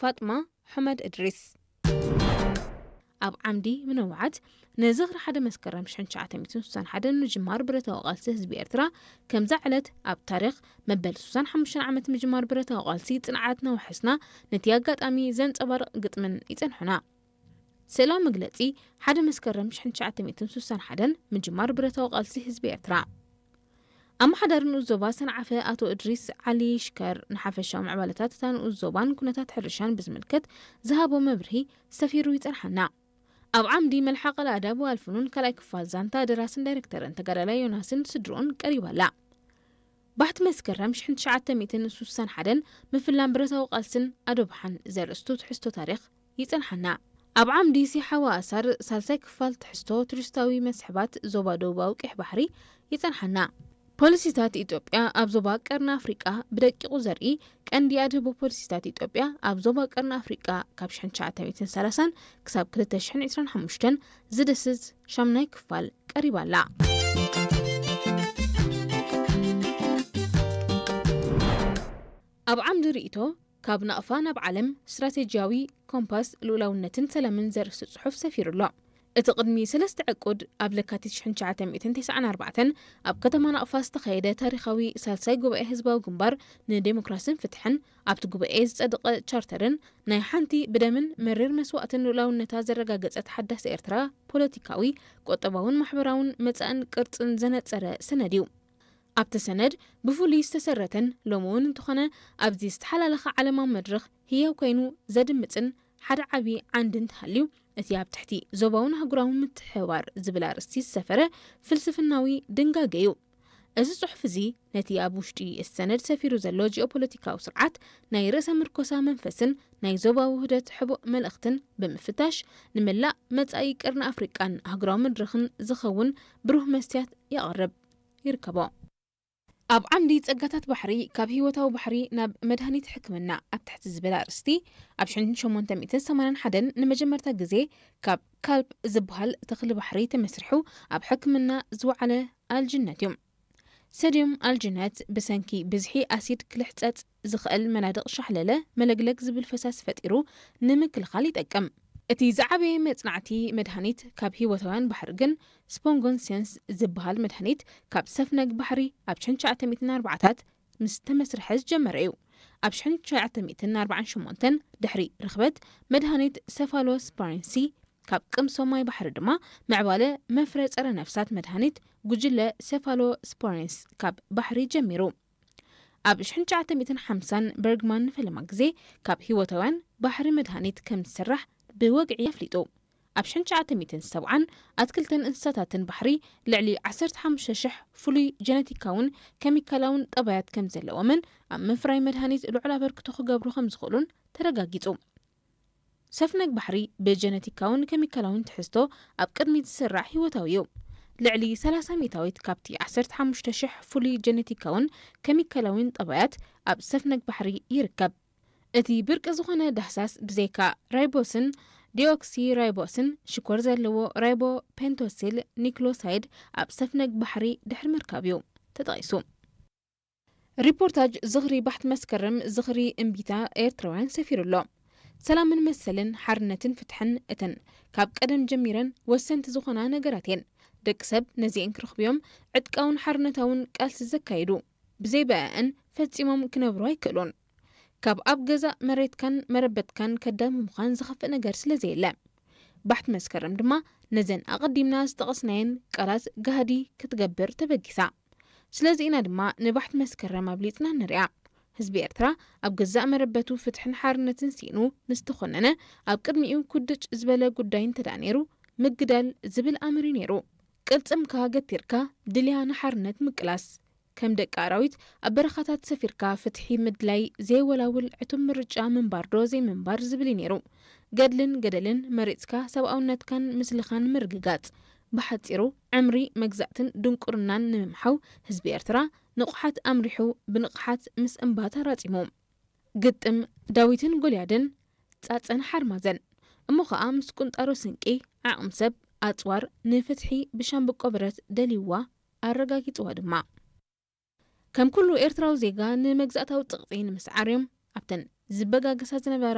ፋጥማ ሑመድ እድሪስ። ኣብ ዓምዲ ምንውዓት፣ ንዝኽሪ ሓደ መስከረም ሽሕን ትሽዓተ ሚእትን ስሳን ሓደን ምጅማር ብረታዊ ቃልሲ ህዝቢ ኤርትራ፣ ከምዛ ዕለት ኣብ ታሪኽ መበል ስሳን ሓሙሽተን ዓመት ምጅማር ብረታዊ ቃልሲ ጽንዓትና ወሐስና፣ ነቲ ኣጋጣሚ ዘንጸባርቕ ግጥምን ይጸንሑና። ስእላዊ መግለጺ፣ ሓደ መስከረም ሽሕን ትሽዓተ ሚእትን ስሳን ሓደን ምጅማር ብረታዊ ቃልሲ ህዝቢ ኤርትራ። ኣመሓዳሪ ንኡስ ዞባ ሰንዓፈ ኣቶ እድሪስ ዓሊ ሽከር፣ ንሓፈሻዊ ምዕባለታት እታ ንኡስ ዞባን ኩነታት ሕርሻን ብዝምልከት ዝሃቦ መብርሂ ሰፊሩ ይጸንሓና። ኣብ ዓምዲ መልሓቕ ኣዳብ ወኣልፍኑን ካልኣይ ክፋል ዛንታ ደራስን ዳይሬክተርን ተጋዳላይ ዮናስን ስድርኡን ቀሪባ ኣላ። ባሕቲ መስከረም ሽሕን ትሽዓተ ሚእትን ስሳን ሓደን ምፍላም ብረታዊ ቃልስን ኣዶብሓን ዘርእስቱ ትሕዝቶ ታሪኽ ይጸንሓና። ኣብ ዓምዲ ሲሓዋ ኣሳር ሳልሳይ ክፋል ትሕዝቶ ቱሪስታዊ መስሕባት ዞባ ደቡባዊ ቀይሕ ባሕሪ ይጸንሓና። ፖሊሲታት ኢትዮጵያ ኣብ ዞባ ቀርኒ ኣፍሪቃ ብደቂቑ ዘርኢ ቀንዲ ኣድህቦ ፖሊሲታት ኢትዮጵያ ኣብ ዞባ ቀርኒ ኣፍሪቃ ካብ ሽሕን ትሽዓተ ሚእትን ሰላሳን ክሳብ ክልተ ሽሕን ዕስራን ሓሙሽተን ዝድስስ ሻምናይ ክፋል ቀሪባ ኣላ። ኣብ ዓምዲ ርእይቶ፣ ካብ ናቕፋ ናብ ዓለም፣ ስትራቴጂያዊ ኮምፓስ ልኡላውነትን ሰላምን ዘርእስቲ ጽሑፍ ሰፊሩ ኣሎ። እቲ ቅድሚ ሰለስተ ዕቁድ ኣብ ለካቲት ሽሕን ትሽዓተ ሚእትን ተስዓን ኣርባዕተን ኣብ ከተማ ናቕፋ ዝተኻየደ ታሪኻዊ ሳልሳይ ጉባኤ ህዝባዊ ግንባር ንዴሞክራስን ፍትሕን፣ ኣብቲ ጉባኤ ዝጸደቐ ቻርተርን ናይ ሓንቲ ብደምን መሪር መስዋእትን ልኡላውነታ ዘረጋገጸት ሓዳስ ኤርትራ ፖለቲካዊ፣ ቁጠባውን ማሕበራውን መጻእን ቅርጽን ዘነጸረ ሰነድ እዩ። ኣብቲ ሰነድ ብፍሉይ ዝተሰረተን ሎሚ እውን እንተኾነ ኣብዚ ዝተሓላለኸ ዓለማዊ መድረኽ ህያው ኮይኑ ዘድምጽን ሓደ ዓቢ ዓንዲ እንተሃልዩ፣ እቲ ኣብ ትሕቲ ዞባውን ኣህጉራውን ምትሕብባር ዝብል ኣርእስቲ ዝሰፈረ ፍልስፍናዊ ድንጋገ እዩ። እዚ ጽሑፍ እዚ ነቲ ኣብ ውሽጢ እቲ ሰነድ ሰፊሩ ዘሎ ጂኦፖለቲካዊ ስርዓት ናይ ርእሰ ምርኮሳ መንፈስን ናይ ዞባዊ ውህደት ሕቡእ መልእኽትን ብምፍታሽ፣ ንመላእ መጻኢ ቀርኒ ኣፍሪቃን ኣህጉራዊ መድረኽን ዝኸውን ብሩህ መስትያት የቕርብ ይርከቦ። ኣብ ዓምዲ ጸጋታት ባሕሪ፣ ካብ ህይወታዊ ባሕሪ ናብ መድሃኒት ሕክምና ኣብ ትሕቲ ዝብል ኣርእስቲ፣ ኣብ ሽሕን ሸሞንተ ሚእትን ሰማንያን ሓደን ንመጀመርታ ግዜ ካብ ካልፕ ዝበሃል ተኽሊ ባሕሪ ተመስሪሑ ኣብ ሕክምና ዝወዓለ ኣልጅነት እዩ። ሰድዮም ኣልጅነት ብሰንኪ ብዝሒ ኣሲድ ክልሕጸጽ ዝኽእል መናድቕ ሻሕለለ መለግለግ ዝብል ፈሳሲ ፈጢሩ ንምክልኻል ይጠቅም። እቲ ዝዓበየ መጽናዕቲ መድሃኒት ካብ ህይወታውያን ባሕሪ ግን ስፖንጎንሴንስ ዝበሃል መድሃኒት ካብ ሰፍነግ ባሕሪ ኣብ ሽሕን ትሽዓተ ሚእትን ኣርባዓታት ምስ ተመስርሐ ዝጀመረ እዩ። ኣብ ሽሕን ትሽዓተ ሚእትን ኣርባዓን ሸሞንተን ድሕሪ ርኽበት መድሃኒት ሰፋሎስፓሪንሲ ካብ ቅምሶ ማይ ባሕሪ ድማ ምዕባለ መፍረ ጸረ ነፍሳት መድሃኒት ጉጅለ ሰፋሎስፓሪንስ ካብ ባሕሪ ጀሚሩ። ኣብ ሽሕን ትሽዓተ ሚእትን ሓምሳን በርግማን ንፈለማ ግዜ ካብ ህይወታውያን ባሕሪ መድሃኒት ከም ዝስራሕ ብወግዒ ኣፍሊጡ። ኣብ ሽሕን ትሽዓተ ሚእትን ሰብዓን ኣትክልትን እንስሳታትን ባሕሪ ልዕሊ ዓሰርተ ሓሙሽተ ሽሕ ፍሉይ ጀነቲካውን ኬሚካላውን ጠባያት ከም ዘለዎምን ኣብ ምፍራይ መድሃኒት ልዑል ኣበርክቶ ክገብሩ ከም ዝኽእሉን ተረጋጊጹ። ሰፍነግ ባሕሪ ብጀነቲካውን ኬሚካላውን ትሕዝቶ ኣብ ቅድሚት ዝስራዕ ህይወታዊ እዩ። ልዕሊ ሰላሳ ሚእታዊት ካብቲ ዓሰርተ ሓሙሽተ ሽሕ ፍሉይ ጀነቲካውን ኬሚካላውን ጠባያት ኣብ ሰፍነግ ባሕሪ ይርከብ። እቲ ብርቂ ዝኾነ ዳህሳስ ብዘይካ ራይቦስን ዲኦክሲ ራይቦስን ሽኮር ዘለዎ ራይቦ ፔንቶሲል ኒክሎሳይድ ኣብ ሰፍነግ ባሕሪ ድሕሪ ምርካብ እዩ ተጠቒሱ። ሪፖርታጅ ዝኽሪ ባሕቲ መስከረም ዝኽሪ እምቢታ ኤርትራውያን ሰፊሩ ኣሎ። ሰላምን መሰልን ሓርነትን ፍትሕን እተን ካብ ቀደም ጀሚረን ወሰንቲ ዝኾና ነገራት እየን። ደቂ ሰብ ነዚአን ክረኽብዮም ዕጥቃውን ሓርነታውን ቃልሲ ዘካየዱ ብዘይ ብኣአን ፈጺሞም ክነብሩ ኣይክእሉን። ካብ ኣብ ገዛእ መሬትካን መረበትካን ከዳሚ ምዃን ዝኸፍእ ነገር ስለ ዘየለ፣ ባሕቲ መስከረም ድማ ነዘን ኣቐዲምና ዝጠቐስናየን ቃላት ጋህዲ ክትገብር ተበጊሳ። ስለዚ ኢና ድማ ንባሕቲ መስከረም ኣብሊጽና ንሪኣ። ህዝቢ ኤርትራ ኣብ ገዛእ መረበቱ ፍትሕን ሓርነትን ስኢኑ ምስ ተኾነነ፣ ኣብ ቅድሚኡ ኩድጭ ዝበለ ጉዳይ እንተ ደኣ ነይሩ፣ ምግዳል ዝብል ኣምር እዩ ነይሩ። ቅልጽምካ ገቲርካ ድልያ ንሓርነት ምቅላስ። ከም ደቂ ኣራዊት ኣብ በረኻታት ሰፊርካ ፍትሒ ምድላይ ዘይወላውል ዕቱብ ምርጫ ምንባር ዶ ዘይምንባር ዝብል እዩ ነይሩ። ገድልን ገደልን መሪጽካ ሰብኣውነትካን ምስልኻን ምርግጋጽ። ብሓጺሩ ዕምሪ መግዛእትን ድንቁርናን ንምምሓው ህዝቢ ኤርትራ ንቑሓት ኣምሪሑ ብንቕሓት ምስ እምባ ተራጺሙ። ግጥም ዳዊትን ጎልያድን ጻጸን ሓርማዘን። እሞ ኸኣ ምስ ቁንጣሮ ስንቂ፣ ዓቕሚ ሰብ፣ ኣጽዋር ንፍትሒ ብሻምብቆ ብረት ደልይዋ ኣረጋጊጽዋ ድማ። ከም ኩሉ ኤርትራዊ ዜጋ ንመግዛእታዊ ጽቕጢ ንምስዓር እዮም ኣብተን ዝበጋገሳ ዝነበራ